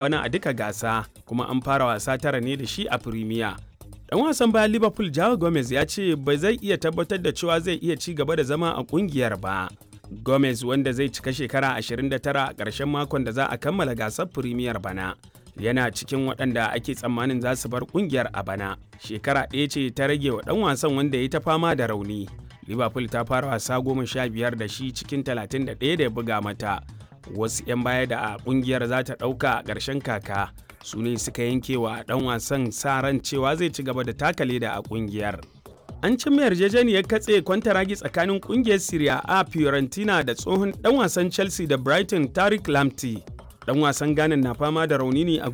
Bana a duka gasa, kuma an fara wasa tara ne da shi a Firimiya. Dan wasan bayan Liverpool Joao Gomez ya ce ba zai iya tabbatar da cewa zai iya ci gaba da zama a kungiyar ba. Gomez, wanda zai cika shekara 29 a ƙarshen makon da za a kammala gasar Firimiyar bana, yana cikin waɗanda ake tsammanin za su bar kungiyar a bana. Shekara ɗaya ce ta rage wa ɗan wasan wanda ya ta fama da rauni. Liverpool ta fara wasa 15 da shi cikin 31 da ya buga mata. Wasu 'yan baya da a kungiyar za ta ɗauka a ƙarshen kaka su ne suka yanke wa ɗan wasan sa ran cewa zai ci gaba da taka leda a kungiyar. An cimma yarjejeniyar katse kwantaragi tsakanin kungiyar Serie A Fiorentina da tsohon ɗan wasan Chelsea da Brighton Tariq Lamptey. Ɗan wasan Ghana na fama da rauni ne a